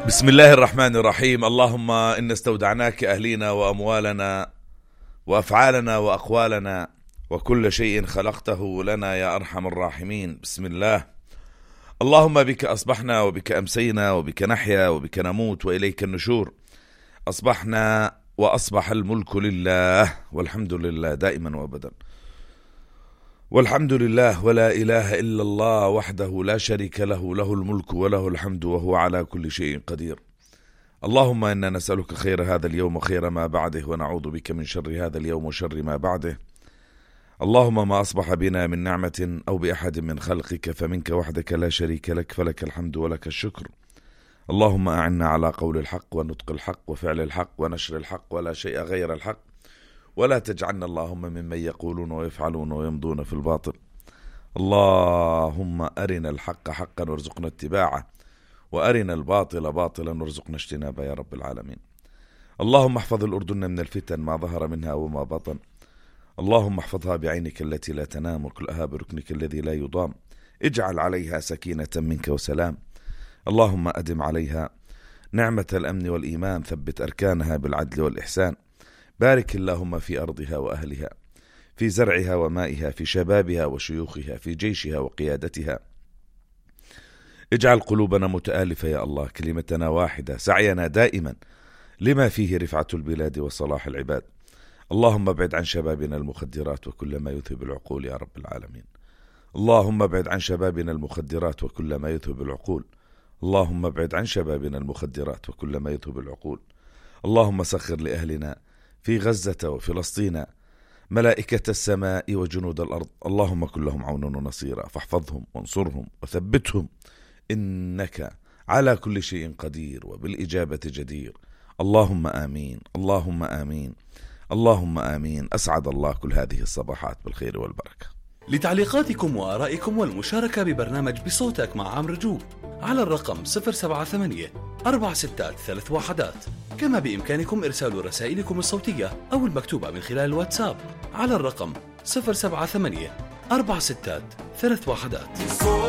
بسم الله الرحمن الرحيم. اللهم إن استودعناك أهلينا وأموالنا وأفعالنا وأقوالنا وكل شيء خلقته لنا يا أرحم الراحمين. بسم الله. اللهم بك أصبحنا وبك أمسينا وبك نحيا وبك نموت وإليك النشور. أصبحنا وأصبح الملك لله والحمد لله دائما وأبدا. والحمد لله ولا إله إلا الله وحده لا شريك له، له الملك وله الحمد وهو على كل شيء قدير. اللهم إنا نسألك خير هذا اليوم وخير ما بعده، ونعوذ بك من شر هذا اليوم وشر ما بعده. اللهم ما أصبح بنا من نعمة أو بأحد من خلقك فمنك وحدك لا شريك لك، فلك الحمد ولك الشكر. اللهم أعنا على قول الحق ونطق الحق وفعل الحق ونشر الحق ولا شيء غير الحق، ولا تجعلنا اللهم ممن يقولون ويفعلون ويمضون في الباطل. اللهم أرنا الحق حقا وارزقنا اتباعه، وأرنا الباطل باطلا وارزقنا اجتنابه يا رب العالمين. اللهم احفظ الأردن من الفتن ما ظهر منها وما بطن. اللهم احفظها بعينك التي لا تنام وكلها بركنك الذي لا يضام. اجعل عليها سكينة منك وسلام. اللهم أدم عليها نعمة الأمن والإيمان، ثبت أركانها بالعدل والإحسان. بارك اللهم في أرضها وأهلها، في زرعها ومائها، في شبابها وشيوخها، في جيشها وقيادتها. اجعل قلوبنا متآلفة يا الله، كلمتنا واحدة، سعينا دائما لما فيه رفعة البلاد وصلاح العباد. اللهم ابعد عن شبابنا المخدرات وكل ما يذهب العقول يا رب العالمين. اللهم ابعد عن شبابنا المخدرات وكل ما يذهب العقول. اللهم ابعد عن شبابنا المخدرات وكل ما يذهب العقول. اللهم سخر لأهلنا في غزة وفلسطين ملائكة السماء وجنود الأرض. اللهم كن لهم عونا ونصيرا، فاحفظهم وانصرهم وثبتهم، إنك على كل شيء قدير وبالإجابة جدير. اللهم آمين، اللهم آمين، اللهم آمين. أسعد الله كل هذه الصباحات بالخير والبركة. لتعليقاتكم وآرائكم والمشاركة ببرنامج بصوتك مع عمرو جو على الرقم 078-463-1. كما بإمكانكم إرسال رسائلكم الصوتية أو المكتوبة من خلال الواتساب على الرقم 078-463-1.